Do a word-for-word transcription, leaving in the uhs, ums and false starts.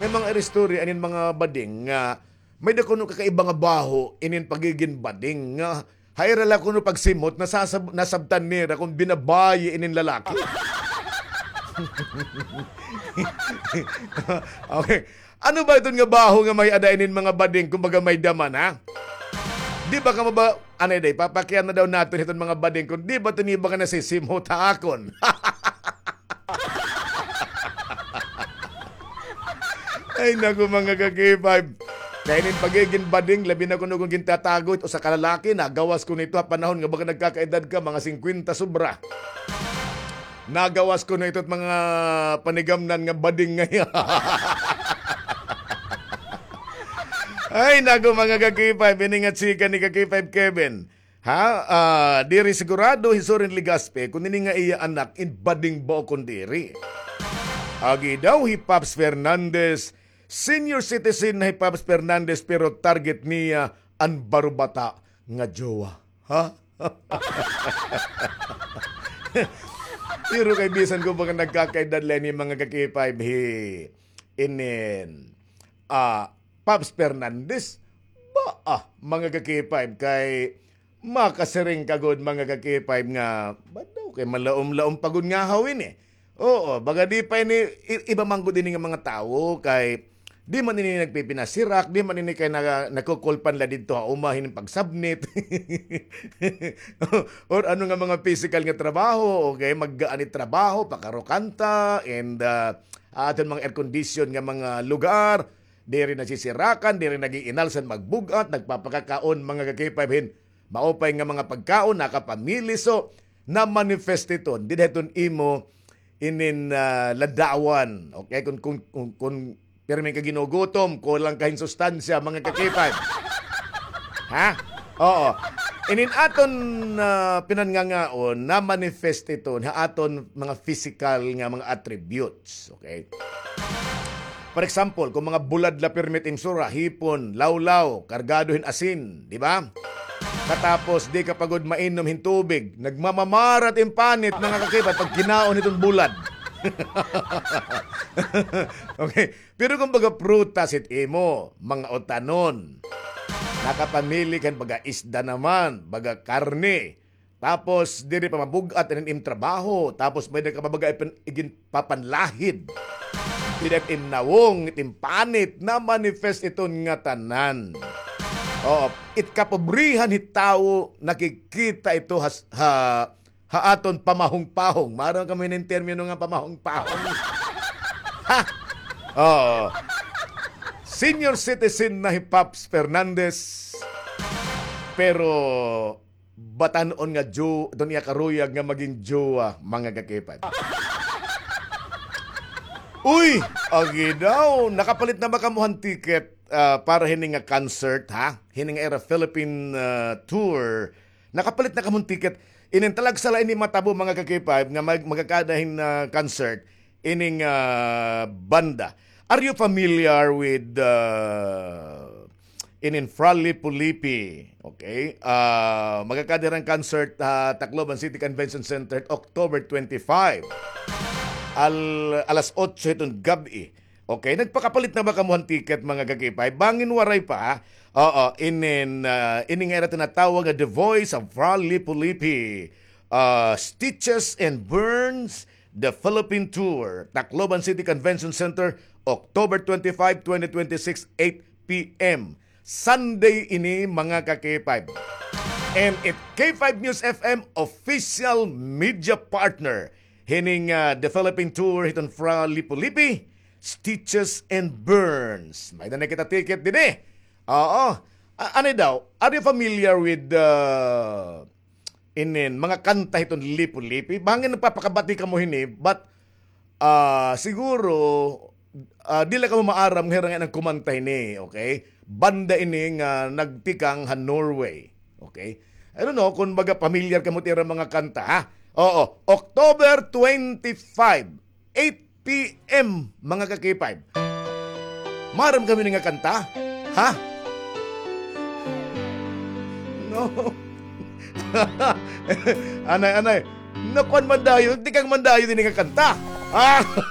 May mga iristorya inin mga bading nga may da kuno kakaiba nga baho inin pagigin bading nga ha ira la kuno pagsimhot, nasasab-, nasabtan nira kon binabayi inin lalaki. Okay. Ano ba iton nga baho nga may-ada inin mga bading, kumbaga may-da man, ha? Di ba kamo ba, anay day, papakiana daw naton hiton mga bading kon di ba tuni ba nga nasisimhot ha akon? Ay, naku, mga ka-K five. Kay inin pagigin bading, labi na kuno kon gintatago it usa ka lalaki, nagawas kuno ito ha panahon nga baga nagkakaedad ka, mga singkwenta sobra. Nagawas kuno ito it mga panigamnan nga bading ngay-an. Ay, naku, mga ka-K five, ini nga chika ni ka-K five Kevin. Ha? Ah, diri sigurado hi Soren Legaspi kon ini nga iya anak in bading ba o kon diri. Agi daw hi Pops Fernandez, senior citizen na hi Pops Fernandez, pero target niya an barubata nga jowa. Ha? Pero kay bisan ko ba nga nagkakaedad la ini, mga ka-K five, hi inin, ah, Pops Fernandez, ba, ah, mga ka-K five, kay makasiring ka gud, mga ka-K five, nga, ba daw kay malaom-laom pa gud ngahaw ini. Oo, baga di pa ini, i-, iba man gud ini nga mga tawo, kay di man ini nagpipinasirak, di man ini kay naga-, nagkukulpan la didto ha uma hin pagsabnit. Or ano nga mga physical nga trabaho, okay? Maggaan it trabaho, pakarukanta, and, ah, aton mga air condition nga mga lugar, diri nasisirakan, diri nag-iinalsan, magbug-at, nagpapakakaon, mga ka-K five, hin maupay nga mga pagkaon, nakapamili. So, na-manifest iton dida hiton imo inin, ah, ladawan. Okay? Kon, kon, kon, kon pirmi ka ginugutom, kulang ka hin sustansya, mga ka-K five. Ha? Oo. Inin aton, ah, pinanngangaon, na-manifest iton ha aton mga physical nga mga attributes. Okay? For example, kon mga bulad la pirmi it im sura, hipon, lawlaw, kargado hin asin, di ba? Katapos, di ka pa gud mainom hin tubig, nagmamamara it im panit, mga ka-K five, pagkinaon hiton bulad. Okay. Pero kon baga prutas it imo, mga utanon, nakapamili ka hin baga isda naman, baga karne, tapos diri pa mabug-at inin im trabaho, tapos may-ada ka pa baga ipin-, iginpapanlahid. Dida it im nawong, it im panit, na-manifest iton ngatanan. Oo, it kapobrihan hit tawo, nakikita ito ha, ha, ha aton pamahong-pahong. Maaram kamo hinin termino nga pamahong-pahong? Ha? Oo. Senior citizen na hi Pops Fernandez. Pero batan-on nga jo-, iton iya karuyag nga magin jowa, mga ka-K five. Uy, agi daw, nakapalit na ba kamo han ticket, ah, para hini nga concert, ha? Hini nga ira Philippine, ah, tour. Nakapalit na kamo han ticket. Inin talagsa la ini matabo, mga ka-K five, nga mag-, magkakada hin, ah, concert ining, ah, banda. Are you familiar with, ah, inin Fra Lippo Lippi? Okay. Ah, magkakada hira hin concert ha Tacloban City Convention Center, October twenty-five. Al-, alas otso hiton gab-i. Okay, nagpakapalit na ba kamo han ticket, mga ka-K five? Bangin waray pa, ha? Oo, inin, ah, ini nga ira tinatawag nga The Voice of Fra Lippo Lippi. Ah, Stitches and Burns, The Philippine Tour, Tacloban City Convention Center, October twenty-five, twenty twenty-six, eight p.m. Sunday ini, mga ka-K five. And it K five News F M official media partner hining, ah, The Philippine Tour hiton Fra Lippo Lippi, Stitches and Burns. May-ada na kita ticket dinhi. Oo. A-, ano daw? Are you familiar with the inin, mga kanta hiton Lippo Lippi? Bangin nagpapakabati kamo hini, but, ah, siguro, ah, diri la kamo maaram nga hira ngay-an an kumanta hini, okay? Banda ini nga nagtikang ha Norway, okay? I don't know kon baga pamilyar kamo hit ira mga kanta, ha? Oo, October twenty-five, eight p.m., mga ka-K five. Maaram kamo hini nga kanta? Ha? No. Anay, anay. Nakuan man dayon, tikang man dayon ini nga kanta. Ah!